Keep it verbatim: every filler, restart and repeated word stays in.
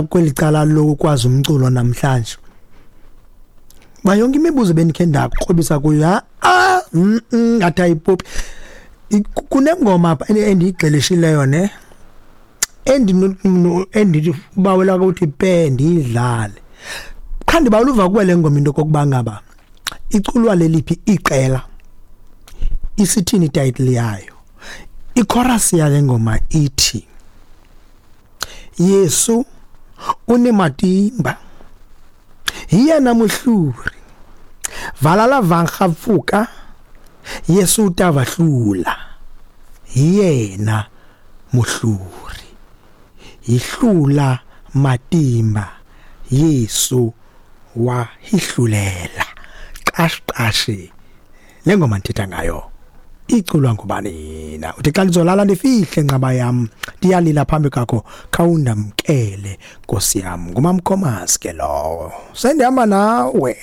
Kweli cala lokwazi umculo namhlanje, ba yonke imibuzo bendikhe ndakrobisa kuyo, ah, ngathi ayipopi. Kunengoma apha endiyigxelishileyo ne endithi bawela ukuthi pe ndiyidlale, qha ndibawela uva kuwe le ngoma, into okokuba ngaba iculwa leliphi iqela, isithini ititle yayo. Ichorus yale ngoma ithi, "Yesu unematimba, hi yena muhluri, valala vangapfuka, Yesu ta va hlula, hi yena muhluri, hi hlula matimba, Yesu wa hi hlulela." Qashi qashi, le ngoma ndithetha ngayo iculwa ngubani na? Uthi, "Xa ndizolala ndifihle, nqaba yam, ndiyalila phambi kwakho, khawundamkele, Nkosi yam." Ngumamkhomas ke lowo, sendihamba nawe.